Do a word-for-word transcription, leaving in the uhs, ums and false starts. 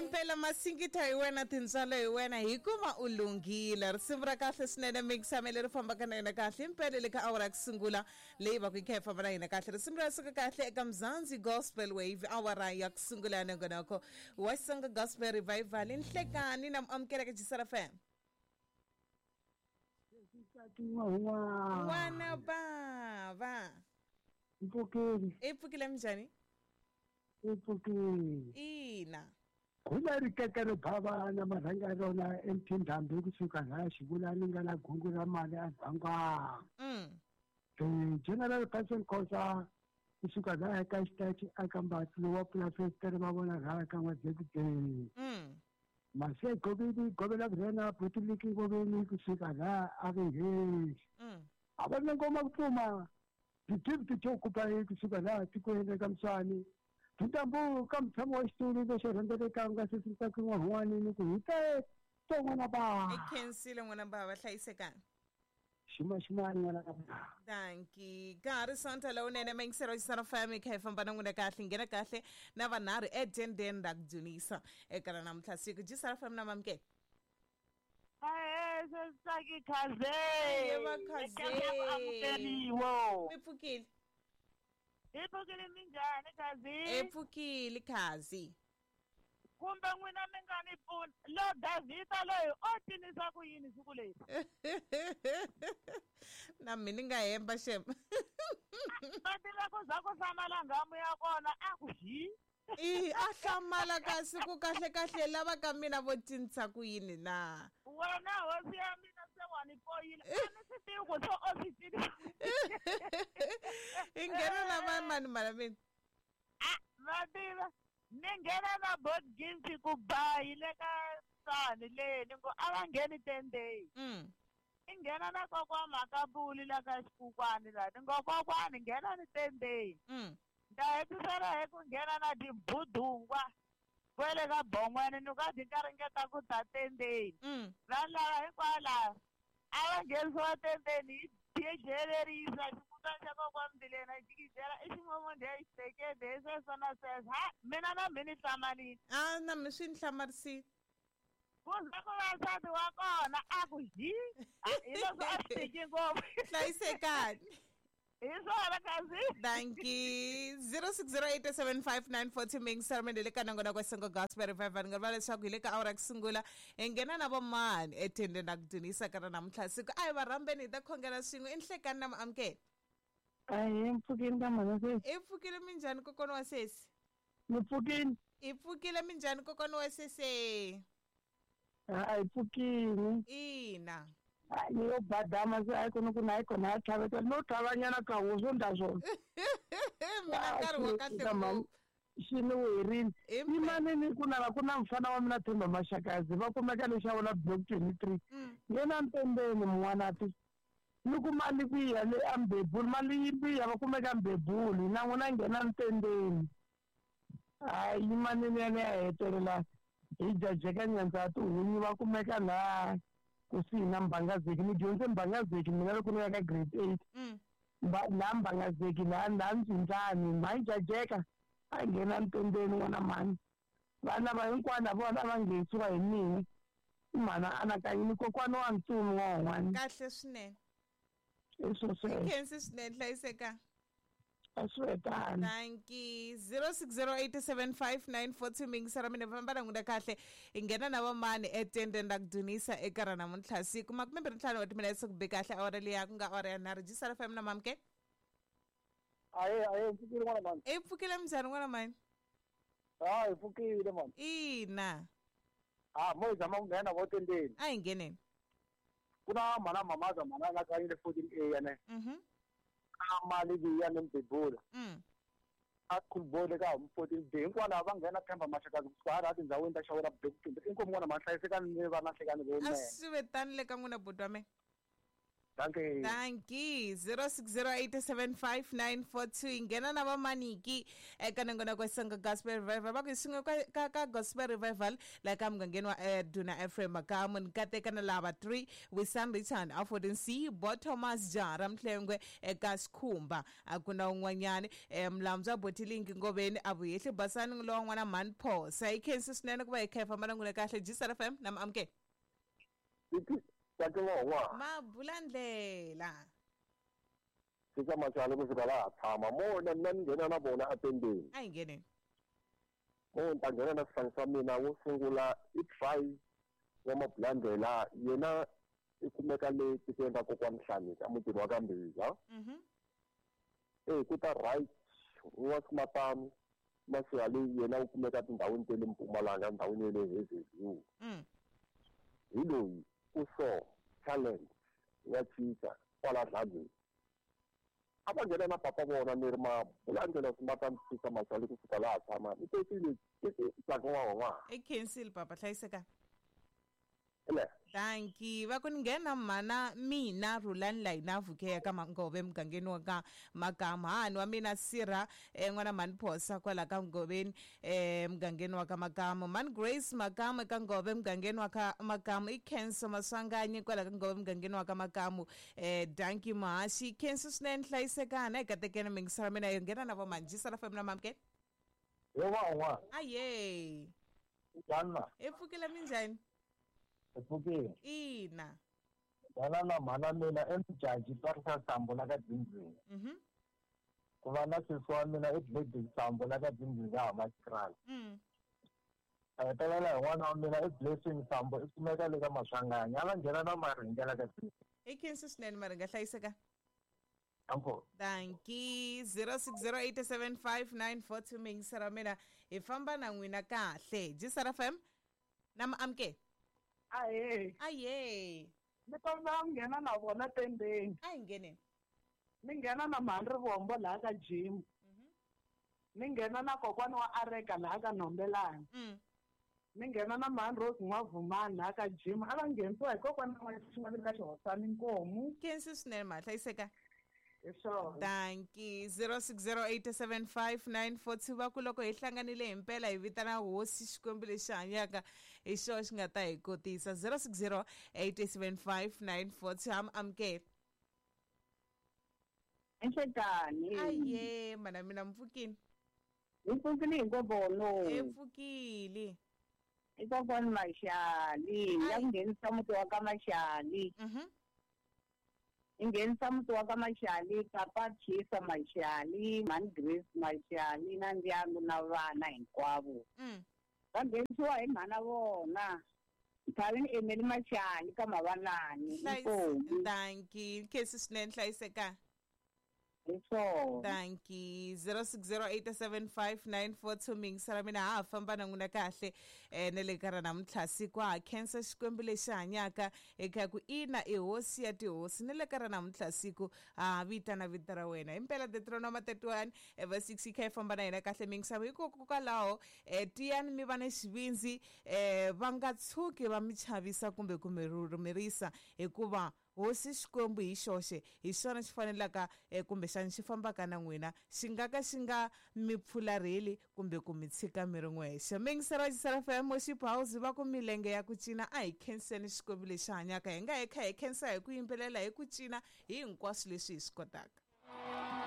Impela masingita hi wena tintswalo hi wena hikuva u lunghile. Risimu ra kahle swinene mixame leri fambaka na yena kahle impela le ka awara ya ku sungula leyi va ku yi kha yi famba na hina kahle. Risimu ra suka kahle eka Mzansi Gospel Wave awara ya ku sungula ya nongonoko wa Xitsonga Gospel Revival. Nhlekani na muamukeleka Jisara F M. N'wana bava. Mpfukile. I pfukile minjhani? I pfukile. Ina. Khula ri kekere bava na marhanga rona emphindhambi kusuka laha xivula ni nga na gungu ra mali a bangwa. Mm. Eh General Passion Khosa kusuka laha ka xitachi aka mbatlo wa pulafestere va vona laha ka n'wadzekute. Mm. Mase goveni govela rena putiliki goveni kusuka laha a ri hesi. Mm. A va na ngoma ku pfuma. Ti to kupa kusuka laha tikweni ka Mswani. Tintambu ka mutshamo wa xitulu lexo rhendzeleka nga sesisaka n'wahwani ni ku hi te to n'wana bava. I khensile n'wana bava hlayisekani. Xima ximani n'wana bava. Dankie. Ka ha ri Sonta lowunene mayingiselo Xitsonga F M kha hi famba na n'wina kahle nghena kahle na vanharhu etendeni ra ku dzunisa eka ra namuntlha siku Xitsonga F M na mamukela. Ahe sesitsaki khaze. Yebo khaze. Amukeliwe. Mi pfukile. I pfukile minjhani khazi? I pfukile khazi. Kumbe n'wina mi nga ni pfuna lo Davhida loyi o cinisa ku yini siku leri? Na mina ni nga hemba xem. Va tiva ku za ku hlamala nghamu ya kona a ku hi. I a hlamala kasi ku kahle kahle lava ka mina vo cinisa ku yini na? Wena hosi ya mina se wa ni poyila a ni swi tivi ku se o swi cinisa. I nghena na va mani mara mina? A va tiva ni nghena na board games ku ba hi le ka sani le ni ngo a va ngheni ten days. Mm. I nghena na kokwa Makabuli la ka xikukwani la ni ngo kokwani nghena ni ten days. Mm. Nda hetisela hi ku nghena na tibudungwa kwele ka bon'wana ni ka ti ka ringeta ku ta tendeni. Mm. Vanhu lava hinkwalava a va nghenisiwa tendeni hi jejelerisa xikutani xa kokwa Mbilena jikijela i ximomondo ya xitekete hi sweswo na sweswo. Ha mina na mi ni hlamalile. A na mi swi ni hlamarisile. Ku za ku va nsati wa kona a ku hi hi leswi a swi tiki ngopfu. Hlayisekani. Hi swona khazi. Dankie. zero six zero eight seven five nine four two mingiselo le ka nongonoko wa Xitsonga Gospel Revival nga rivala leswaku hi le ka awara ya ku sungula hi nghena na vomani etendeni ra ku dzunisa ka ra namuntlha siku. A hi va rhambeni hi ta khongela swin'we. I nhlekani na muamukeli. Ahee, mpfukile ka mhana sesi. I pfukile minjhani kokwana wa sesi? Ni pfukile. I pfukile minjhani kokwana wa sesi? A hi pfukile. Ina. Ni yo badama se a kona ku na kona a tlhaveta no tlhavanyana ka wo swo ndla swona. Mina nkarhi wa kahle ngopfu. Xi ni werile. Yimani ni ku nava ku na mfana wa mina Themba Maxakazi va kumeka le xavo la block twenty-three. Yena ntembeni mun'wana ti ni ku mali ku ya le Ambebuli mali yi biya va kumeka Ambebuli na n'wina nghena ntembeni. Hayi yimani ni ya ni ya hetelela hi jajeka nyandza tihunyi va kumeka laha kusuhi na Mbangazeki. Ni dyondze Mbangazeki mina loko ni ya ka grade eight. Laha Mbangazeki laha laha Ndzundzani mhayi jajeka a nghena ntendeni n'wana mhani. Vana va hinkwana vona va nghenisiwa hi mina. Mhana anakanyini kokwana wa ntsumi n'wan'wana. Kahle swinene. I swo sweswo. Khensi swinene hlayiseka. A swi hetani. Dankie. zero six zero eight seven five nine four two mingiselo mina famba na n'wina kahle. Hi nghena na vamani etendeni ra ku dzunisa eka ra namuntlha siku makume mbirhi ntlhanu wa timinetse ku be kahle awara liya ku nga awara ya nharhu. Jisara F M na mamukela. Ahe ahe mpfukile n'wana mhani. I pfukile minjhani n'wana mhani? Hayi pfukile mhani. Ina. Ah mo hi zama ku nghena vo tendeni. A hi ngheneni. Ku na mhana mamaza mhana la ka yile fourteen A ya ne. Mhm. Mali liya ni Mbebula. Mm. A khulbole ka fourteen B hinkwana va nghena Themba Maxakazi kusuka hala tindhawini ta xavo la block twenty. Inkomu n'wana mhani hlayisekani ni va na nhlekani lowunene. A swi ve tani le ka n'wina buti wa mina. Dankie. Dankie. zero six zero eight seven five nine four two. Nghena na vamaniki eka nongonoko wa Xitsonga Gospel Revival. Va ku hi swin'we ka, ka, ka Gospel Revival la ka mugangeni wa eh, Duna Ephraim Makamu ni kateka na lava three Wisan Richard Afodin C Bo Thomas Jara Mhlengwe eka Xikhumba. A ku na un'wanyani eh, Mlamza Botilingi Ngoveni a vuyehli Basani lowa n'wana Mhani Phosa. Hi khensi swinene ku va hi kha hi famba na n'wina kahle. G S F M na Amke. Tsaki n'wa Mabulandlela. Fika Machali ku fika laha tshama mona mina ni nghena na vona atendeni. A hi ngheneni. Mo ni ta nghena na swihlangi swa mina wo sungula i Try wa Mabulandlela yena i kumeka le tikweni ra kokwani Hlanika mutini wa ka Mbhiza. Mhm. Eh ku ta right wa Simatani Masihali yena u kumeka tindhawini ta le Mpumalanga ndhawini ya le Hazyview. Mm. Hi loyi ku so challenge ya cinca kwala Dladleni. A va nghena na papa vona ni ri Mabulandlela Simatani Fika Machali ku fika laha tshama ni tekile Tsaki n'wa n'wa. I khensile papa hlayiseka. Ele. Dankie. Va ku ni nghena mhana mina Rhulani Layina Vukeya ka Mangove mugangeni wa ka Makamu. Hani wa mina Sirha eh, n'wana Mhani Phosa kwala ka Ngoveni eh, mugangeni wa ka Makamu. Mhani Grace Makamu eka Ngove mugangeni wa ka Makamu. I Khenso Maswanganyi kwala ka Ngove mugangeni wa ka Makamu. Eh, dankie Mahashi. Khenso swinene hlayisekana eka tekeni mingisela mina yo nghena na vo Manjisa la fam na Mamke. Yo va n'wa. Aye. Njhani na? Hi pfukile minjhani? Hi pfukile. Ina. Dala na mhana mina i Mjaji Twarisa Sambo la ka Dzindzini. Mhm. Ku va na sesi wa mina i Gladys Sambo la ka Dzindzini ka Hammanskraal. Mm. A hetelela hi n'wana wa mina i Blessing Sambo i kumeka le ka Maswanganyi. A va nghena na Maringa la ka Dzindzini. I khensi swinene Maringa hlayiseka. Danko. Dankie. zero six zero eight seven five nine four two mingisela mina hi famba na n'wina kahle. G S F M na Amke. Ahe. Aye. Ni kombela ku nghena na vona tendeni. A hi ngheneni. Ni nghena na Mhani Rivombo laha ka Jim. Ni nghena na kokwani wa Areka laha ka Nombelani. Mm. Ni nghena na Mhani Rose N'wavumani laha ka Jim. A va nghenisiwa hi kokwana wa xin'wana ka Xihosani Nkomu. Khensi swinene ma hlayiseka. Hi swona. Dankie. zero six zero eight seven five nine four two va ku loko hi hlanganile himpela hi vitana hosi Xikwembu lexi hanyaka hi xona xi nga ta hi kotisa. zero six zero eight seven five nine four two am amukela. Enhlekani. Aye, mana mina mpfukini. Hi pfukile hi ngobono. Hi pfukile. I kokwani Mashali, ya ku nghenisa muti wa ka Mashali. Mhm. I nghenisa muti wa ka Mashali, papa Chisa Mashali, Mhani Grace Mashali na ndyangu na vana hinkwavo. Mm. Va nghenisiwa hi mhana vona. Nthavini Emily Mashali ka Mavalani. Inkomu. Dankie. Khensi swinene hlayiseka. Hi swona. Dankie. zero six zero eight seven five nine four two mingisela mina ha famba na n'wina kahle eh na le ka ra namuntlha siku ha khensa Xikwembu lexi hanyaka eka ku ina i hosi ya tihosi na le ka ra namuntlha siku ha vitana vito ra wena himpela Deuteronomy thirty-one verse six yi kha yi famba na hina kahle mingisela hikokwalaho eh tiyani mi va na xivindzi eh va nga tshuki va mi chavisa kumbe ku mi rhurhumerisa hikuva hosi Xikwembu hi xoxe hi xona xi fanelaka eh, kumbexana xi fambaka na n'wina xi nga ka xi nga mi pfularheli kumbe ku mi tshika mi ri n'wexe. Mingisela wa G S F M Worship House va ku milenge ya ku cina a hi khenseni Xikwembu lexi hanyaka hi nga hi kha hi khensa hi ku yimbelela hi ku cina hi hinkwaswo leswi hi swi kotaka.